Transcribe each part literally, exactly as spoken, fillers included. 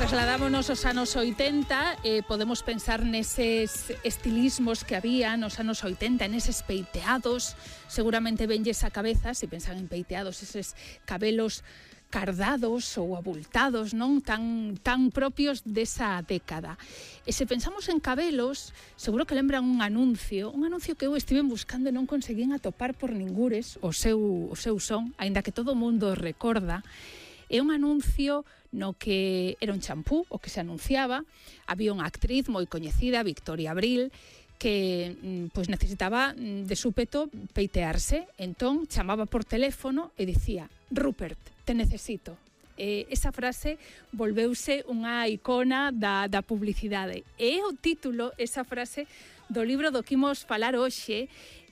Trasladámonos aos anos oitenta e eh, podemos pensar neses estilismos que había nos anos oitenta, neses peiteados, seguramente venlles a cabeza, se pensan en peiteados, eses cabelos cardados ou abultados, non tan tan propios desa década. E se pensamos en cabelos, seguro que lembran un anuncio, un anuncio que eu estive buscando e non conseguín atopar por ningures o seu o seu son, aínda que todo o mundo recorda. É un anuncio no que era un champú o que se anunciaba, había unha actriz moi coñecida, Victoria Abril, que pois necesitaba de súpeto peitearse, entón chamaba por teléfono e dicía: Rupert, te necesito. Eh, esa frase volveuse unha icona da, da publicidade. E é o título, esa frase, do libro do que imos falar hoxe.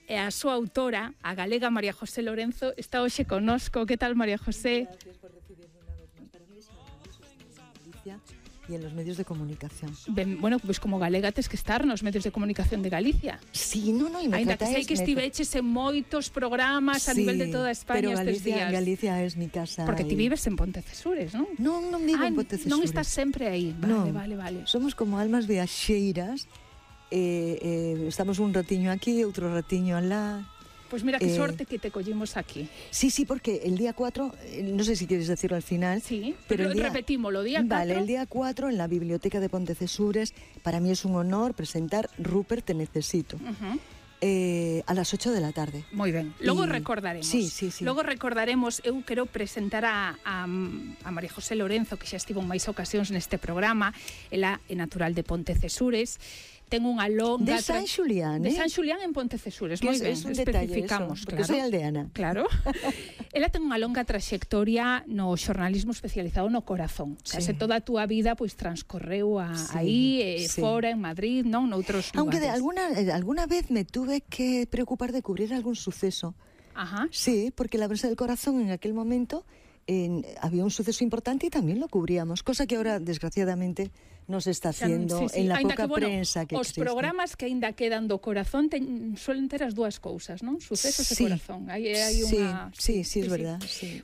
E a súa autora, a galega María José Lorenzo, está hoxe connosco. Que tal, María José? Gracias por recibirme una vez más. Para mí es maravilloso estar en Galicia y en los medios de comunicación. Ben, bueno, pois pues como galega tes que estar nos medios de comunicación de Galicia. Sí, no, no, y me ainda que sei que estiveches en moitos programas sí, a nivel de toda España estes días. Pero Galicia es mi casa. Porque y... ti vives en Pontecesures, non? Non, non vivo ah, en Pontecesures. Non estás sempre aí. Vale, no, vale, vale. Somos como almas viaxeiras. Eh, eh, estamos un ratiño aquí, outro ratiño alá. Pues mira, qué eh, suerte que te collimos aquí. Sí, sí, porque el día cuatro, no sé si quieres decirlo al final. Sí, pero, pero el día, repetimos, lo día cuatro. Vale, el día cuatro en la Biblioteca de Pontecesures, para mí es un honor presentar Rupert, te necesito. Uh-huh. Eh, a las ocho de la tarde. Moi ben, logo y... recordaremos. Sí, sí, sí. Logo recordaremos, eu quero presentar a, a, a María José Lorenzo, que xa estivo en máis ocasións neste programa. Ela é natural de Pontecesures. Ten unha longa... De San Xulián, De eh? San Xulián en Pontecesures, moi ben, es un especificamos. Detalle eso, porque claro. Soy aldeana. Claro. Ela ten unha longa traxectoria no xornalismo especializado no corazón. Sí. Case toda a túa vida pois transcorreu a, sí, aí, eh, sí. fora, en Madrid, non? Noutros lugares. Aunque de alguna, alguna vez me tuve que preocupar de cubrir algún suceso. Ajá. Sí, porque la prensa del corazón en aquel momento en, había un suceso importante y también lo cubríamos, cosa que ahora, desgraciadamente, no se está haciendo sí, sí. en la ainda poca que, bueno, prensa que os existe. Os programas que ainda quedan do corazón ten, suelen ter as dúas cousas, non? Sucesos sí. e corazón. Aí hai sí, unha... Sí, sí, sí, es sí, verdad. Sí. Sí.